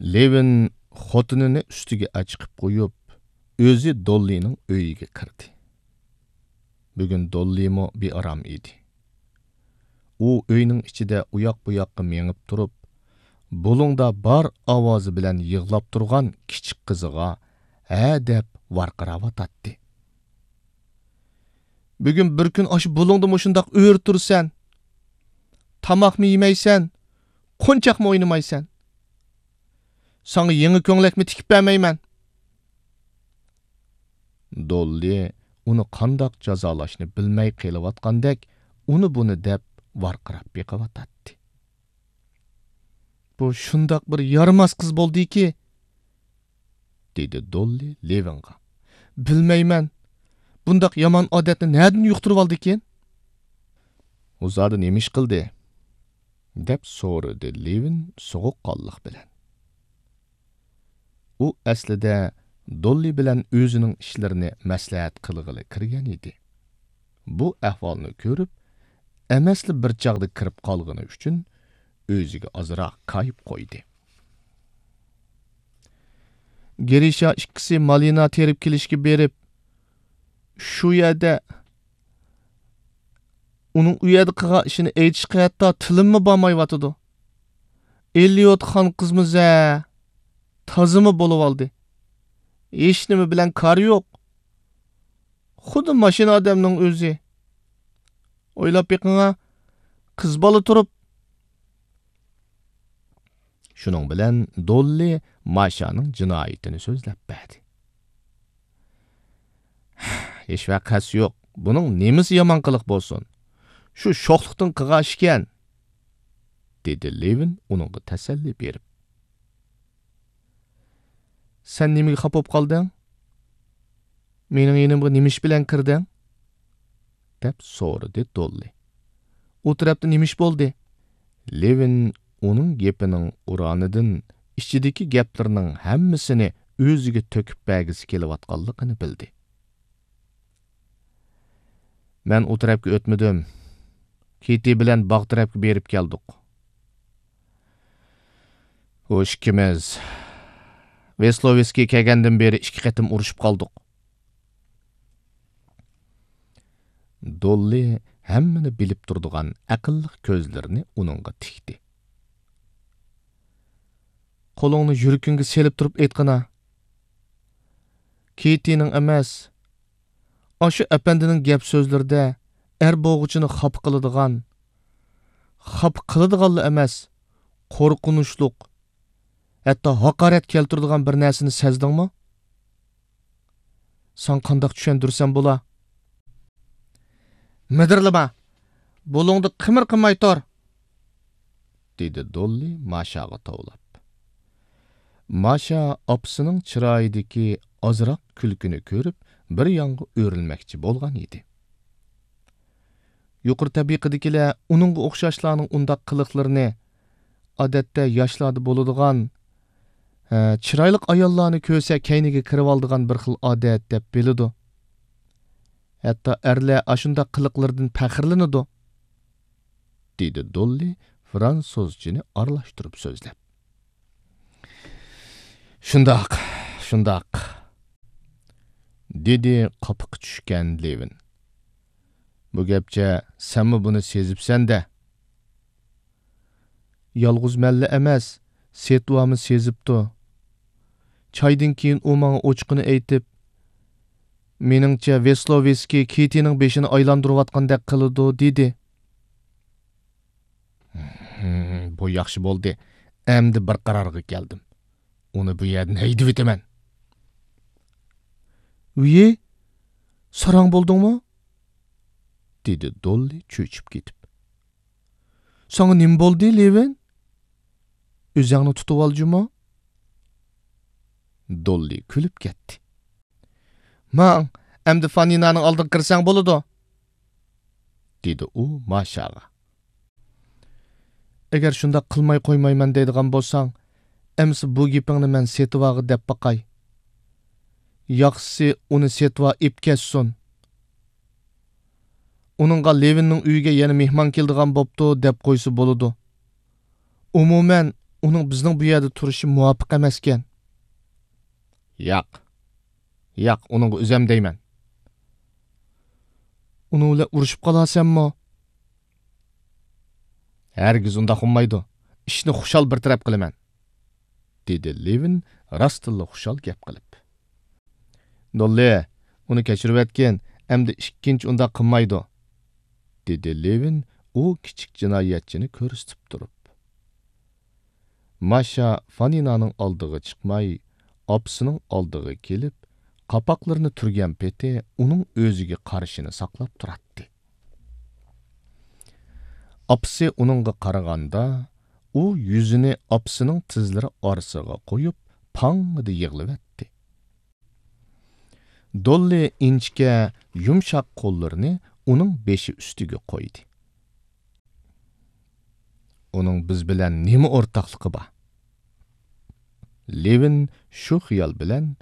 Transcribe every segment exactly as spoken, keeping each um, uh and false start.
لېۋىن خوتۇنىنى ئۈستىگە ئەچىقىپ قويۇپ، ئۆزى دوللىنىڭ ئۆيىگە كىردى. بۈگۈن دوللىمۇ بىئارام ئىدى. ئۇ ئۆينىڭ ئىچىدە ئۇياق-بۇياققا مېڭىپ تۇرۇپ، بۇلۇڭدا بار ئاۋازى بىلەن يىغلاپ تۇرغان كىچىك قىزىغا ھە دەپ ۋارقىراۋاتاتتى. بۈگۈن بىر كۈن ئاشۇ بۇلۇڭدا مۇشۇنداق ئۆرە تۇرىسەن. تاماقمۇ يېمەيسەن، قونچاقمۇ ئوينىمايسەن. ساڭا يېڭى كۆڭلەكمۇ تىكىپ بەرمەيمەن. دوللى ئۇنى قانداق جازالاشنى بىلمەي قېلىۋاتقاندەك، ئۇنى-بۇنى دەپ ۋارقىراپ بېقىۋاتاتتى. بۇ شۇنداق بىر يارىماس قىز بولدىكى، دېدى دوللى لېۋىنغا. بىلمەيمەن، بۇنداق يامان ئادەتنى نەدىن يۇقتۇرۇۋالدىكىن؟ ئۇ زادى نېمە ئىش قىلدى؟ دەپ سورىدى لېۋىن سوغۇققانلىق بىلەن. ئۇ ئەسلىدە دوللى بىلەن ئۆزىنىڭ ئىشلىرىنى مەسلىھەت قىلغىلى كىرگەن ئىدى. بۇ ئەھۋالنى كۆرۈپ، ئەمەسلا بىر چاغدا كىرىپ قالغىنى ئۈچۈن ئۆزىگە ئازراق كايىپ قويدى. گىرىشا ئىككىسى مالىنا تېرىپ كېلىشكە بېرىپ، شۇ يەردە ئۇنىڭ ئۇ يەردە قىلغان ئىشىنى ئېيتىشقا ھەتتا تىلىممۇ بارمايۋاتىدۇ. ئېلىيوت خان قىزمۇ زە، تازىمۇ بولۇۋالدى. ھېچنېمە بىلەن كارى يوق. خۇددى ماشىنا ئادەمنىڭ ئۆزى. ئويلاپ بېقىڭا، قىز بالا تۇرۇپ. شۇنىڭ بىلەن دوللى ماشانىڭ جىنايىتىنى سۆزلەپ بەردى. ھېچ ۋەقەسى يوق. بۇنىڭ نېمىسى يامان قىلىق بولسۇن؟ شۇ شوخلۇقتىن قىلغان ئىشكەن، دېدى لېۋىن ئۇنىڭغا تەسەللى بېرىپ. سەن نېمىگە خاپا بولۇپ قالدىڭ؟ مېنىڭ يېنىمغا نېمە ئىش بىلەن كىردىڭ؟ دەپ سورىدى دوللى. ئۇ تەرەپتە نېمە ئىش بولدى؟ لېۋىن ئۇنىڭ گېپىنىڭ ئۇرانىدىن ئىچىدىكى گەپلىرىنىڭ ھەممىسىنى ئۆزىگە تۆكۈپ بەرگۈسى كېلىۋاتقانلىقىنى بىلدى. مەن ئۇ تەرەپكە ئۆتمىدىم. كىتى بىلەن باغ تەرەپكە بېرىپ كەلدۇق. ئۇ ئىككىمىز ۋېسلوۋېسكىي كەلگەندىن بېرى ئىككى قېتىم ئۇرۇشۇپ قالدۇق. دوللى ھەممىنى بىلىپ تۇرىدىغان ئەقىللىق كۆزلىرىنى ئۇنىڭغا تىكتى. قولۇڭنى يۈرىكىڭگە سېلىپ تۇرۇپ ئېيتقىنا. كىتىنىڭ ئەمەس، ئاشۇ ئەپەندىنىڭ گەپ سۆزلىرىدە ئەر بولغۇچىنى خاپا قىلىدىغان، خاپا قىلىدىغانلا ئەمەس، قورقۇنچلۇق، ھەتتا ھاقارەت كەلتۈرىدىغان بىر نەرسىنى سەزدىڭمۇ؟ ساڭا قانداق چۈشەندۈرسەم بولا؟ مىدىرلىما! بۇلۇڭدا قىمىر قىلماي تۇر! دېدى دوللى ماشاغا توۋلاپ. ماشا ئاپىسىنىڭ چىرايىدىكى ئازراق كۈلكىنى كۆرۈپ، بىر يانغا ئۆرۈلمەكچى بولغان ئىدى. يۇقىرى تەبىقىدىكىلەر ئۇنىڭغا ئوخشاشلارنىڭ ئۇنداق قىلىقلىرىنى، ئادەتتە ياشلاردا بولىدىغان، ھە، چىرايلىق ئاياللارنى كۆرسە كەينىگە كىرىۋالىدىغان بىر خىل ئادەت دەپ بىلىدۇ. ھەتتا ئەرلەر ئاشۇنداق قىلىقلىرىدىن پەخىرلىنىدۇ، دېدى دوللى فرانسۇزچىنى ئارىلاشتۇرۇپ سۆزلەپ. شۇنداق، شۇنداق، دېدى قاپىقى چۈشكەن لېۋىن. بۇ گەپچە سەنمۇ بۇنى سېزىپسەن-دە. يالغۇز مەنلا ئەمەس، سېتۋامۇ سېزىپتۇ. چايدىن كېيىن ئۇ ماڭا ئوچۇقىنى ئېيتىپ، مېنىڭچە ۋېسلوۋېسكىي كىتىنىڭ بېشىنى ئايلاندۇرۇۋاتقاندەك قىلىدۇ، دېدى. بۇ ياخشى بولدى. ئەمدى بىر قارارغا كەلدىم. ئۇنى بۇ يەردىن ھەيدىۋېتىمەن. ۋىي، ساراڭ بولدۇڭمۇ؟ دېدى دوللى چۆچۈپ كېتىپ. ساڭا نېمە بولدى، لېۋىن؟ ئۆزۈڭنى تۇتۇۋال جۇمۇ. دوللى كۈلۈپ كەتتى. ماڭ، ئەمدى فانىنانىڭ ئالدىغا كىرسەڭ بولىدۇ، دېدى ئۇ ماشاغا. ئەگەر شۇنداق قىلماي قويمايمەن دەيدىغان بولساڭ، ئەمىسە بۇ گېپىڭنى مەن سېتىۋاغا دەپ باقاي. ياخشىسى ئۇنى سېتىۋا ئېپ كەتسۇن. ئۇنىڭغا لېۋىننىڭ ئۆيىگە يەنە مېھمان كېلىدىغان بوپتۇ دەپ قويسا بولىدۇ. ئومۇمەن، ئۇنىڭ بىزنىڭ بۇ يەردە تۇرۇشى مۇۋاپىق ئەمەسكەن. ياق. ياق، ئۇنىڭغا ئۆزەم دەيمەن. ئۇنىڭ بىلەن ئۇرۇشۇپ قالارسەنمۇ؟ ھەرگىز ئۇنداق بولمايدۇ. ئىشنى خۇشال بىر تەرەپ قىلىمەن، دېدى لېۋىن راستتىنلا خۇشال گەپ قىلىپ. دوللى، ئۇنى كەچۈرۈۋەتكىن، ئەمدى ئىككىنچى ئۇنداق قىلمايدۇ، دېدى لېۋىن ئۇ كىچىك جىنايەتچىنى كۆرسىتىپ تۇرۇپ. ماشا فانىنانىڭ ئالدىغا چىقماي، ئاپىسىنىڭ ئالدىغا كېلىپ، قاپاقلىرىنى تۈرگەن پېتى ئۇنىڭ ئۆزىگە قارىشىنى ساقلاپ تۇراتتى. ئاپىسى ئۇنىڭغا قارىغاندا، ئۇ يۈزىنى ئاپىسىنىڭ تىزلىرى ئارىسىغا قويۇپ، پاڭڭىدە يىغلىۋەتتى. دوللى ئىنچىكە، يۇمشاق قوللىرىنى ئۇنىڭ بېشى ئۈستىگە قويدى. ئۇنىڭ بىز بىلەن نېمە ئورتاقلىقى بار؟ لېۋىن شۇ خىيال بىلەن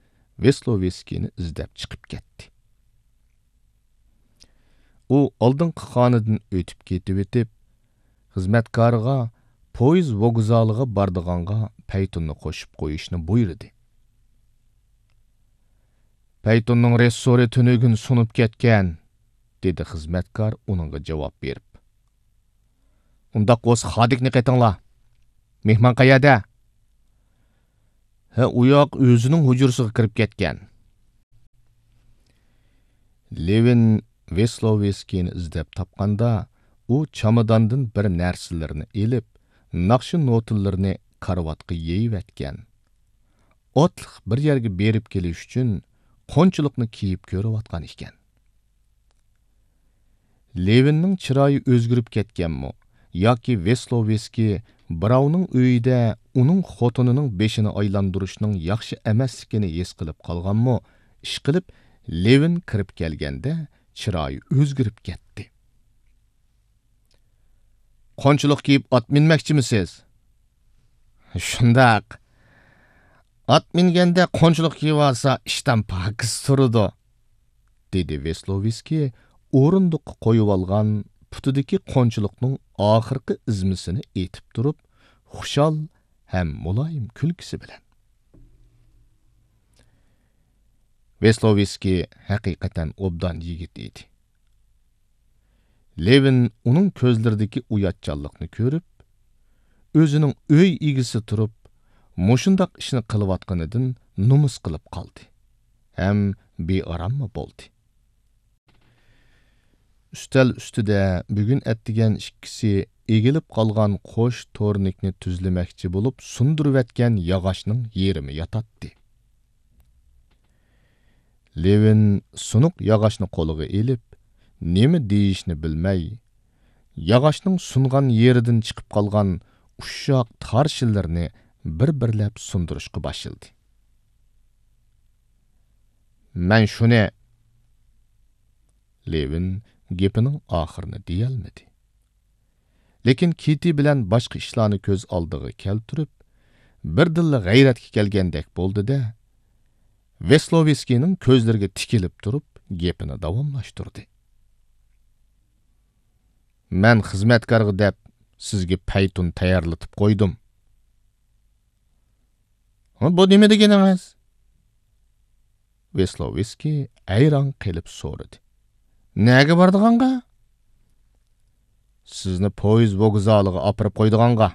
ۋېسلوۋېسكىينى ئىزدەپ چىقىپ كەتتى. ئۇ ئالدىنقى خانىدىن ئۆتۈپ كېتىۋېتىپ، خىزمەتكارىغا پويىز ۋوگزالىغا بارىدىغانغا پەيتۇننى قوشۇپ قويۇشنى بۇيرۇدى. پەيتۇننىڭ رېسسورى تۈنۈگۈن سۇنۇپ كەتكەن، دېدى خىزمەتكار ئۇنىڭغا جاۋاب بېرىپ. ئۇنداق بولسا خادىكنى قېتىڭلار. مېھمان قەيەردە؟ ھە، ئۇ ياق ئۆزىنىڭ ھۇجرىسىغا كىرىپ كەتكەن. لېۋىن ۋېسلوۋېسكىينى ئىزدەپ تاپقاندا، ئۇ چاماداندىن بىر نەرسىلىرىنى ئېلىپ، ناخشا نوتىلىرىنى كارىۋاتقا يېيىۋەتكەن. ئاتلىق بىر يەرگە بېرىپ كېلىش ئۈچۈن قونچىلىقنى كىيىپ كۆرۈۋاتقان ئىكەن. لېۋىننىڭ چىرايى ئۆزگىرىپ كەتكەنمۇ ياكى ۋېسلوۋېسكىي بىراۋنىڭ ئۆيىدە ئۇنىڭ خوتۇنىنىڭ بېشىنى ئايلاندۇرۇشنىڭ ياخشى ئەمەسلىكىنى ھېس قىلىپ قالغانمۇ، ئىشقىلىپ، لېۋىن كىرىپ كەلگەندە چىرايى ئۆزگىرىپ كەتتى. قونچىلىق كىيىپ ئات مىنمەكچىمىسىز؟ شۇنداق. ئات مىنگەندە قونچىلىق كىيىۋالسا، ئىشتان پاكىز تۇرىدۇ، دېدى ۋېسلوۋېسكىي ئورۇندۇققا قويۇۋالغان پۇتىدىكى قونچىلىقنىڭ ئاخىرقى ئۈزمىسىنى ئېتىپ تۇرۇپ، خۇشال ھەم مۇلايىم كۈلكىسى بىلەن. ۋېسلوۋېسكىي ھەقىقەتەن ئوبدان يىگىت ئىدى. لېۋىن ئۇنىڭ كۆزلىرىدىكى ئۇياتچانلىقنى كۆرۈپ، ئۆزىنىڭ ئۆي ئىگىسى تۇرۇپ، مۇشۇنداق ئىشنى قىلىۋاتقىنىدىن نومۇس قىلىپ قالدى ھەم بىئاراممۇ بولدى. ئۈستەل ئۈستىدە بۈگۈن ئەتىگەن ئىككىسى ئېگىلىپ قالغان قوش تورنىكنى تۈزلىمەكچى بولۇپ سۇندۇرۇۋەتكەن ياغاچنىڭ يېرىمى ياتاتتى. لېۋىن سۇنۇق ياغاچنى قولىغا ئېلىپ، نېمە دېيىشنى بىلمەي، ياغاچنىڭ سۇنغان يېرىدىن چىقىپ قالغان ئۇششاق تار شىللىرىنى بىر-بىرلەپ سۇندۇرۇشقا باشلىدى. مەن شۇنى، لېۋىن گېپىنىڭ ئاخىرىنى دېيەلمىدى. لېكىن كىتى بىلەن باشقا ئىشلارنى كۆز ئالدىغا كەلتۈرۈپ، بىردىنلا غەيرەتكە كەلگەندەك بولدى-دە، ۋېسلوۋېسكىينىڭ كۆزلىرىگە تىكىلىپ تۇرۇپ گېپىنى داۋاملاشتۇردى. مەن خىزمەتكارغا دەپ سىزگە پەيتۇن تەييارلىتىپ قويدۇم. ھە، بۇ نېمە دېگىنىڭىز؟ ۋېسلوۋېسكىي ھەيران قېلىپ سورىدى. نەگە بارىدىغانغا؟ سىزنى پويىز ۋوگزالىغا ئاپىرىپ قويىدىغانغا،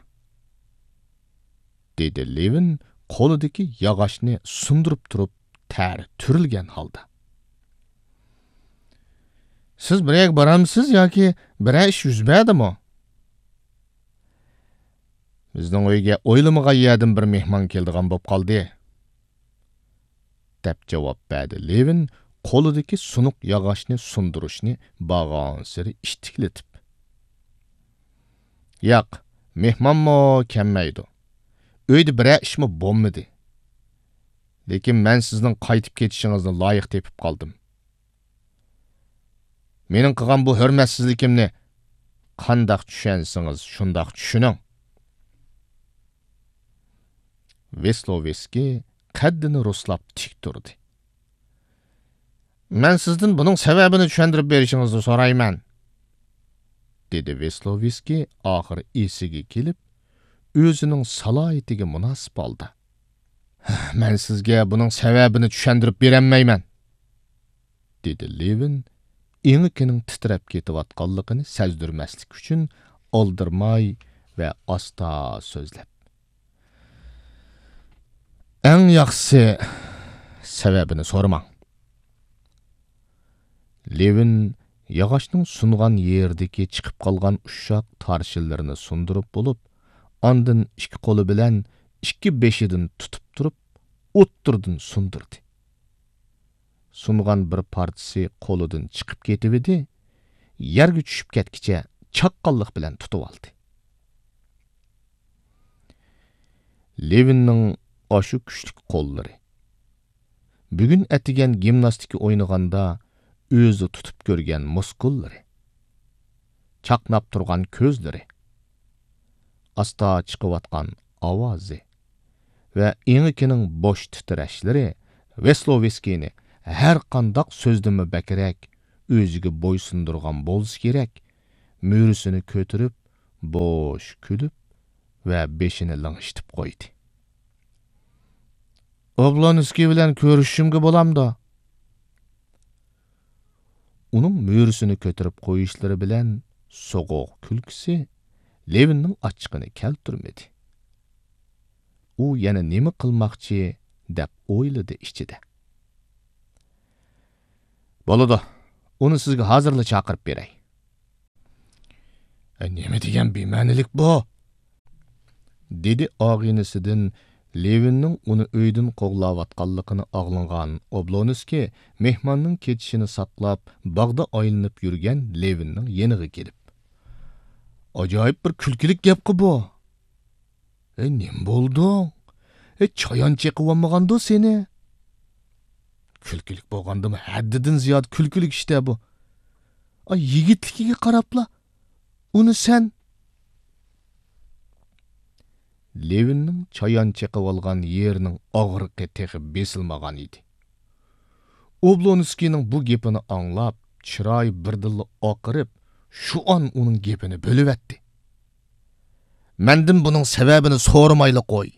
دېدى لېۋىن قولىدىكى ياغاچنى سۇندۇرۇپ تۇرۇپ تەر تۈرۈلگەن ھالدا. سىز بىر يەرگە بارامسىز ياكى بىرەر ئىش يۈز بەردىمۇ؟ بىزنىڭ ئۆيگە ئويلىمىغان يەردىن بىر مېھمان كېلىدىغان بولۇپ قالدى، دەپ جاۋاب بەردى لېۋىن قولىدىكى سۇنۇق ياغاچنى سۇندۇرۇشنى بارغانسېرى ئىتتىكلىتىپ. ياق، مېھمانمۇ كەلمەيدۇ. ئۆيدە بىرەر ئىشمۇ بولمىدى. لېكىن مەن سىزنىڭ قايتىپ كېتىشىڭىزنى لايىق تېپىپ قالدىم. مېنىڭ قىلغان بۇ ھۆرمەتسىزلىكىمنى قانداق چۈشەنسىڭىز، شۇنداق چۈشىنىڭ. ۋېسلوۋېسكىي قەددىنى رۇسلاپ تىك تۇردى. مەن سىزدىن بۇنىڭ سەۋەبىنى چۈشەندۈرۈپ بېرىشىڭىزنى سورايمەن، دېدى ۋېسلوۋېسكىي ئاخىرى ئېسىگە كېلىپ، ئۆزىنىڭ سالاھىيىتىگە مۇناسىپ ھالدا، «مەن سىزگە بۇنىڭ سەۋەبىنى چۈشەندۈرۈپ بېرەلمەيمەن»، دېدى لېۋىن ئېڭىكىنىڭ تىترەپ كېتىۋاتقانلىقىنى سەزدۈرمەسلىك ئۈچۈن ئالدىرىماي ۋە ئاستا سۆزلەپ. «ئەڭ ياخشىسى، سەۋەبىنى سورىماڭ.» لېۋىن ياغاچنىڭ سۇنغان يېرىدىكى چىقىپ قالغان ئۇششاق تارشىلىرىنى سۇندۇرۇپ بولۇپ، ئاندىن ئىككى قولى بىلەن ئىككى بېشىدىن تۇتۇپ تۇرۇپ، ئوتتۇرىدىن سۇندۇردى. سۇنغان بىر پارچىسى قولىدىن چىقىپ كېتىۋىدى، يەرگە چۈشۈپ كەتكىچە چاققانلىق بىلەن تۇتۇۋالدى. لېۋىننىڭ ئاشۇ كۈچلۈك قوللىرى، بۈگۈن ئەتىگەن گىمناستىكا ئوينىغاندا ئۆزى تۇتۇپ كۆرگەن مۇسكۇللىرى، چاقناپ تۇرغان كۆزلىرى، ئاستا چىقىۋاتقان ئاۋازى ۋە ئېڭىكىنىڭ بوش تىترەشلىرى ۋېسلوۋېسكىينى ھەر قانداق سۆزدىنمۇ بەكرەك ئۆزىگە بويسۇندۇرغان بولسا كېرەك، مۈرىسىنى كۆتۈرۈپ، بوش كۈلۈپ ۋە بېشىنى لىڭشىتىپ قويدى. «ئوبلونسكىي بىلەن كۆرۈشۈشۈمگە بولامدۇ؟» ئۇنىڭ مۈرىسىنى كۆتۈرۈپ قويۇشلىرى بىلەن سوغۇق كۈلكىسى لېۋىننىڭ ئاچچىقىنى كەلتۈرمىدى. ئۇ يەنە نېمە قىلماقچى دەپ ئويلىدى ئىچىدە. «بولىدۇ، ئۇنى سىزگە ھازىرلا چاقىرىپ بېرەي.» «ئە، نېمە دېگەن بىمەنىلىك بۇ؟» دېدى ئاغىنىسىدىن لېۋىننىڭ ئۇنى ئۆيدىن قوغلاۋاتقانلىقىنى ئاڭلىغان ئوبلونسكىي مېھماننىڭ كېتىشىنى ساقلاپ، باغدا ئايلىنىپ يۈرگەن لېۋىننىڭ يېنىغا كېلىپ. «ئاجايىپ بىر كۈلكىلىك گەپقۇ بۇ. ئەي، نېمە بولدۇڭ؟ ئەي، چايان چېقىۋالمىغاندۇ سېنى؟» «كۈلكىلىك بولغاندىمۇ ھەددىدىن زىيادە كۈلكىلىك ئىشتە بۇ. ئاي، يىگىتلىكىگە قاراپلا، ئۇنى سەن...» لېۋىننىڭ چايان چېقىۋالغان يېرىنىڭ ئاغرىقى تېخى بېسىلمىغان ئىدى. ئوبلونسكىينىڭ بۇ گېپىنى ئاڭلاپ، چىرايى بىردىنلا ئاقىرىپ، شۇ ئان ئۇنىڭ گېپىنى بۆلۈۋەتتى. «مەندىن بۇنىڭ سەۋەبىنى سورىمايلا قوي.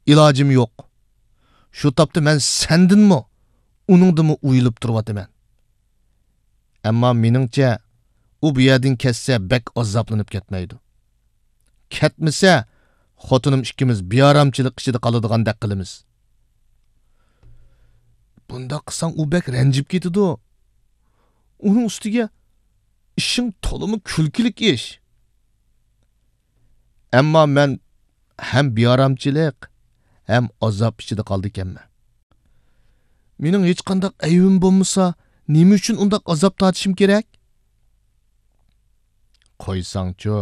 ئىلاجىم يوق. شۇ تاپتا مەن سەندىنمۇ، ئۇنىڭدىنمۇ ئۇيىلىپ تۇرۇۋاتىمەن. ئەمما مېنىڭچە، ئۇ بۇ يەردىن كەتسە، بەك ئازابلىنىپ كەتمەيدۇ. كەتمىسە، خوتۇنۇم ئىككىمىز بىئارامچىلىق ئىچىدە قالىدىغاندەك قىلىمىز.» «بۇنداق قىلساڭ، ئۇ بەك رەنجىپ كېتىدۇ. ئۇنىڭ ئۈستىگە ئىشىڭ تولىمۇ كۈلكىلىك ئىش.» «ئەمما مەن ھەم بىئارامچىلىق، ھەم ئازاب ئىچىدە قالىدىكەنمەن. مېنىڭ ھېچقانداق ئەيىبىم بولمىسا، نېمە ئۈچۈن ئۇنداق ئازاب تارتىشىم كېرەك؟» «قويساڭچۇ،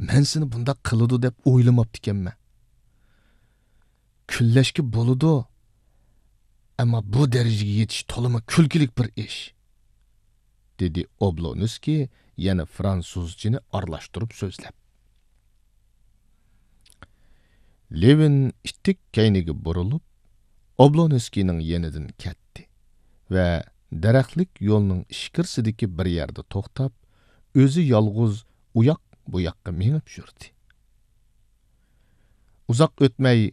مەن سېنى بۇنداق قىلىدۇ دەپ ئويلىماپتىكەنمەن. كۈنلەشكە بولىدۇ، ئەمما بۇ دەرىجىگە يېتىش تولىمۇ كۈلكىلىك بىر ئىش.» دېدى ئوبلونسكىي يەنە فرانسۇزچىنى ئارىلاشتۇرۇپ سۆزلەپ. لېۋىن ئىتتىك كەينىگە بۇرۇلۇپ، ئوبلونسكىينىڭ يېنىدىن كەتتى ۋە دەرەخلىك يولنىڭ ئىچكىرىسىدىكى بىر يەردە توختاپ، ئۆزى يالغۇز ئۇياق-بۇياققا مېڭىپ يۈردى. ئۇزاق ئۆتمەي،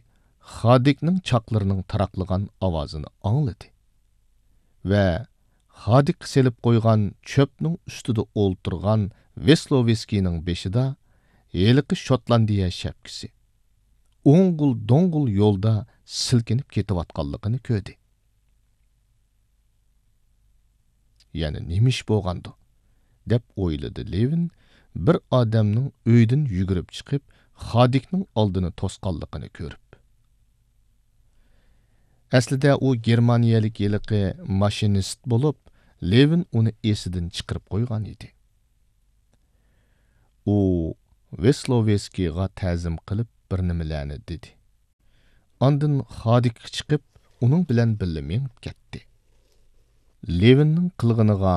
خادىكنىڭ چاقلىرىنىڭ تاراقلىغان ئاۋازىنى ئاڭلىدى ۋە خادىكقا سېلىپ قويغان چۆپنىڭ ئۈستىدە ئولتۇرغان ۋېسلوۋېسكىينىڭ بېشىدا ھېلىقى شوتلاندىيە شەپكىسى ئوڭغۇل-دوڭغۇل يولدا سىلكىنىپ كېتىۋاتقانلىقىنى كۆردى. «يەنە نېمە ئىش بولغاندۇ؟» دەپ ئويلىدى لېۋىن، بىر ئادەمنىڭ ئۆيدىن يۈگۈرۈپ چىقىپ، خادىكنىڭ ئالدىنى توسقانلىقىنى كۆرۈپ. ئەسلىدە ئۇ گېرمانىيەلىك ھېلىقى ماشىنىست بولۇپ، لېۋىن ئۇنى ئېسىدىن چىقىرىپ قويغان ئىدى. ئۇ ۋېسلوۋېسكىيغا تەزىم قىلىپ بىر نېمىلەرنى دېدى. ئاندىن خادىكقا چىقىپ، ئۇنىڭ بىلەن بىللە مېڭىپ كەتتى. لېۋىننىڭ قىلغىنىغا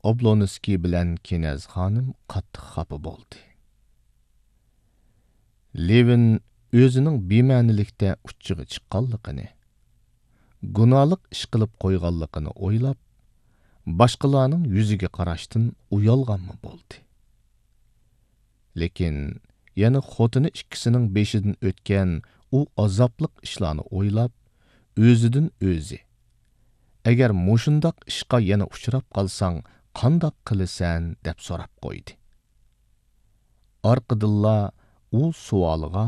ئوبلونسكىي بىلەن كىنەز خانىم قاتتىق خاپا بولدى. لېۋىن ئۆزىنىڭ بىمەنىلىكتە ئۇچچىغا چىققانلىقىنى، گۇناھلىق ئىش قىلىپ قويغانلىقىنى ئويلاپ، باشقىلارنىڭ يۈزىگە قاراشتىن ئۇيالغانمۇ بولدى. لېكىن يەنە خوتۇنى ئىككىسىنىڭ بېشىدىن ئۆتكەن ئۇ ئازابلىق ئىشلارنى ئويلاپ، ئۆزىدىن ئۆزى، «ئەگەر مۇشۇنداق ئىشقا يەنە ئۇچراپ قالساڭ، قانداق قىلىسەن؟» دەپ سوراپ قويدى. ئارقىدىنلا ئۇ سوئالىغا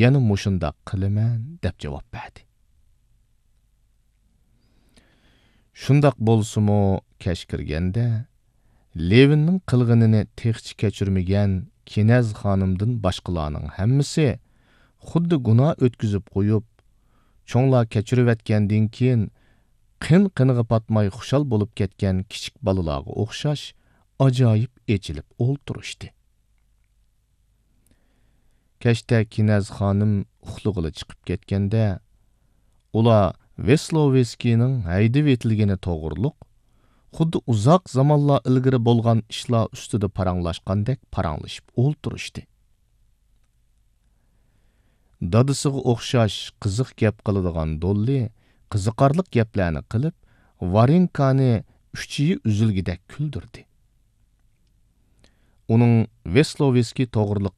يەنە مۇشۇنداق قىلىمەن دەپ جاۋاب بەردى. شۇنداق بولسىمۇ، كەچ كىرگەندە، لېۋىننىڭ قىلغىنىنى تېخىچە كەچۈرمىگەن كىنەز خانىمدىن باشقىلارنىڭ ھەممىسى خۇددى گۇناھ ئۆتكۈزۈپ قويۇپ، چوڭلار كەچۈرۈۋەتكەندىن كېيىن، قىن-قىنىغا پاتماي خۇشال بولۇپ كەتكەن كىچىك بالىلارغا ئوخشاش ئاجايىپ ئېچىلىپ ئولتۇرۇشتى. كەچتە كىنەز خانىم ئۇخلىغىلى چىقىپ كەتكەندە، ئۇلار ۋېسلوۋېسكىينىڭ ھەيدىۋېتىلگىنى توغرۇلۇق، خۇددى ئۇزاق زامانلار ئىلگىرى بولغان ئىشلار ئۈستىدە پاراڭلاشقاندەك پاراڭلىشىپ ئولتۇرۇشتى. دادىسىغا ئوخشاش قىزىق گەپ قىلىدىغان دوللى قىزىقارلىق گەپلەرنى قىلىپ، ۋارېنكانى ئۈچىيى ئۈزۈلگۈدەك كۈلدۈردى. ئۇنىڭ ۋېسلوۋېسكىي توغرىلىق